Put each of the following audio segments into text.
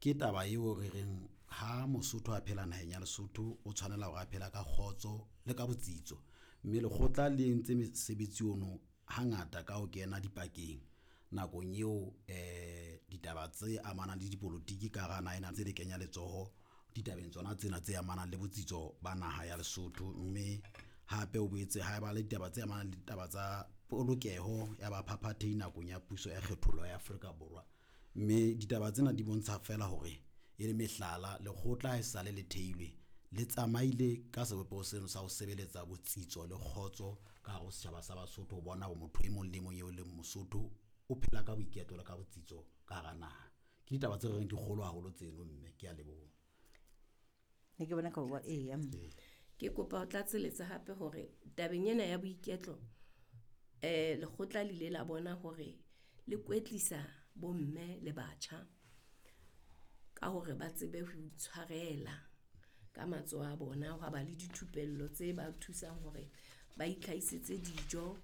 Ke taba eo re reng ha Mosotho a phela naheng ya Lesotho, o tshwanela hore a phela ka kgotso le ka botsitso. Mme lekgotla le entse mesebetsi ono hangata ka ho kena dipakeng nakong eo ditaba tse amanang le dipolotiki ka hara naha ena tse le kenya letsoho ditabeng tsona tsena tse amanang le botsitso ba naha ya Lesotho. Mme hape o boetse ha ba le ditaba tse amanang le ditaba tsa polokeho ya baphaphathehi nakong ya puso ya kgethollo ya Afrika Borwa. Mme ditaba tsena di bontsha feela hore e le mehlala, lekgotla ha e sale le theilwe le tsamaile ka sebopeho seno sa ho sebeletsa botsitso le kgotso ka hare ho setjhaba sa Basotho. Ho bona hore motho e mong le mong eo e leng Mosotho o phela ka boiketlo le ka botsitso ka hara naha. Ke ditaba tse reng di kgolo haholo tseno, mme ke a leboha. Ne ke bona ka bua eya. Ke kopa ho tlatseletsa hape hore tabeng ena ya boiketlo, lekgotla le ile la bona hore le kwetlisa bomme le batjha ka hore ba tsebe ho itshwarela ka matsoho a bona. Hwa ba le dithupello tse ba thusang hore ba itlhaisetse dijo,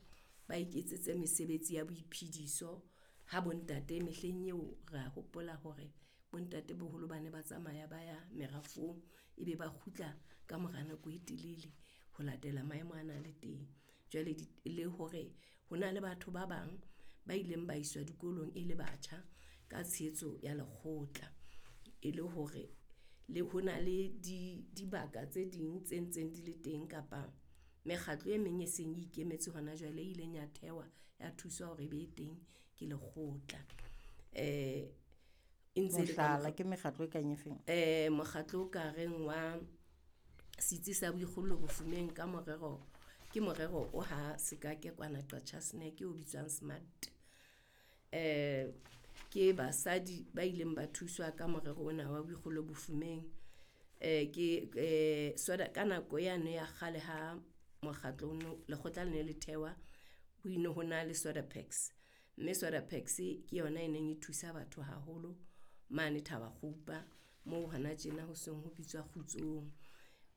ba iketsetse mesebetsi ya boiphediso. Ha bontate mehleng eo re a hopola hore bontate boholo ba ne ba tsamaya ba ya merafong, ebe ba kgutla ka mora nako e telele ho latela maemo ana a le teng. Jwale le hore ho na le batho ba bang ba ileng ba iswa dikolong e le batjha ka tshehetso ya lekgotla. E le hore le ho na le dibaka tse ding tse ntseng di le teng kapa mekgatlo e meng e seng e ikemetse hona jwale e ileng ya thewa ya thuswa hore e be teng ke lekgotla. E ntse le ka Mohlala ke mekgatlo e kang e feng? Mokgatlo o ka reng wa setsi sa boikgollo bofumeng ka morero, ke morero o ha Sekake kwana Qacha's Nek o bitswang SMART. Ke basadi ba ileng ba thuswa ka morero ona wa boikgollo bofumeng. Ke soda ka nako yane ya kgale ha mokgatlo ono lekgotla le ne le thewa, ho ine ho na le Sodapex. Mme Sodapex ke yona e neng e thusa batho haholo mane Thabakgopa moo hona tjena ho seng ho bitswa Kgutsong.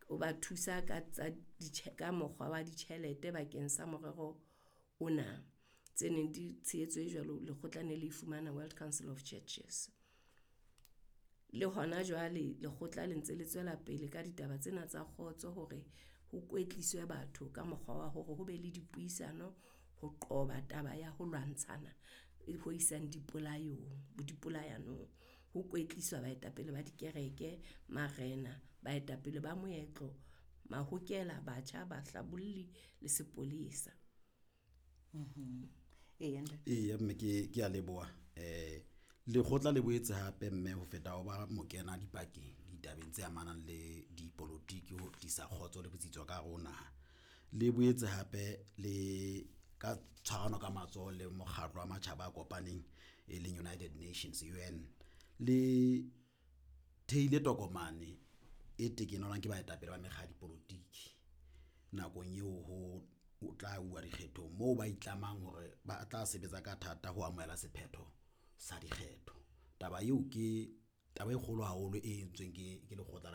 O ba thusa ka tsa ka mokgwa wa ditjhelete bakeng sa morero ona. Tse neng di tshehetso e jwalo lekgotla ne le fumana World Council of Churches. Le hona jwale lekgotla le ntse le tswela pele ka ditaba tsena tsa kgotso hore ho kwetliswe batho ka mokgwa wa hore ho be le dipuisano ho qoba taba ya ho lwantshana e ho isang dipolayong, dipolayanong. Ho kwetliswa baetapele ba dikereke, marena, baetapele ba moetlo, mahokela, batjha, bahlabolli le sepolesa. Eya ntate. Eya mme ke a leboha. Lekgotla le boetse hape mme ho feta ho ba mokena dipakeng ditabeng tse amanang le dipolotiki ho tlisa kgotso le botsitso ka hare ho naha. Le boetse hape le ka tshwarano ka matsoho le mokgatlo wa matjhaba a kopaneng e leng United Nations, UN. Le theile tokomane e tekenelwang ke baetapele ba mekga ya dipolotiki nakong eo ho tla uwa dikgethong moo ba itlamang hore ba tla sebetsa ka thata ho amohela sephetho sa dikgetho. Taba eo ke taba e kgolo haholo e entsweng ke lekgotla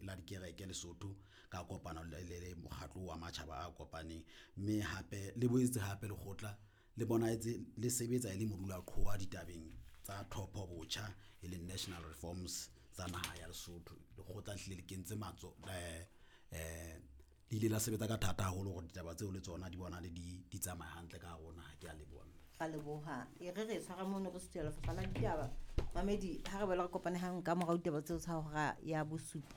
la dikereke Lesotho ka kopano le mokgatlo wa matjhaba a kopaneng. Mme hape le boetse hape lekgotla le bonahetse le sebetsa e le modulaqhowa ditabeng tsa tlhopho botjha, e leng national reforms tsa naha ya Lesotho. Lekgotla le hlile le kentse le ile la sebetsa ka thata haholo hore ditaba tseo le tsona di bonahale di tsamaya hantle ka hare ho naha. Ke a leboha. Ra leboha. E re re tshwara mono re suthela lefapha la ditaba. Mamedi, ha re boela re kopane hang ka morao ditaba tseo tsa hora ya bosupa.